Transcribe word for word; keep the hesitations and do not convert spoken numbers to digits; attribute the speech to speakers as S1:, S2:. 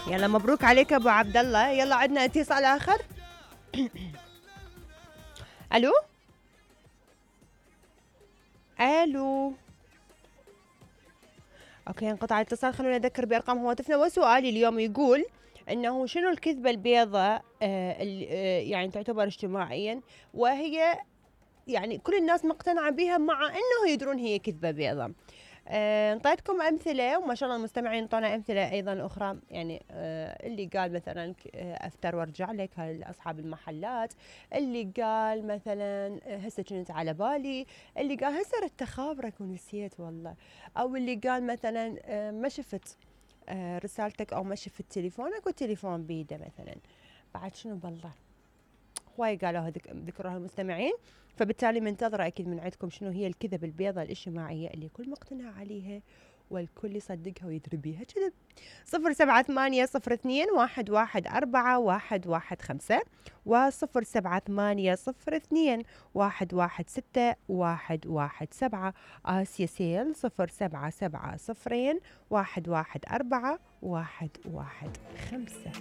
S1: يلا مبروك عليك ابو عبد الله. يلا عندنا اتصال اخر. الو الو اوكي انقطع الاتصال. خلونا نذكر بارقام هواتفنا. وسؤالي اليوم يقول انه شنو الكذبه البيضاء آه اللي آه يعني تعتبر اجتماعيا، وهي يعني كل الناس مقتنعه بها مع انه يدرون هي كذبه بيضاء. آه، انطيتكم امثله وما شاء الله المستمعين انطونا امثله ايضا اخرى، يعني آه اللي قال مثلا آه افتر وارجع لك، هاي اصحاب المحلات. اللي قال مثلا آه هسه كنت على بالي. اللي قال هسه ردت اخابرك ونسيت والله. او اللي قال مثلا آه ما شفت آه رسالتك، او ما شفت تليفونك والتليفون بيده مثلا. بعد شنو بالله هواي قالوها ذكروها المستمعين. فبالتالي منتظرة أكيد من عندكم شنو هي الكذب البيضاء الاجتماعية اللي الكل مقتنع عليها والكل يصدقها ويدري بيها كذب. صفر سبعة ثمانية صفر اثنين واحد واحد أربعة واحد واحد خمسة وصفر سبعة ثمانية صفر اثنين واحد واحد ستة واحد واحد سبعة. آسيا سيل صفر سبعة سبعة صفرين واحد واحد أربعة واحد واحد خمسة.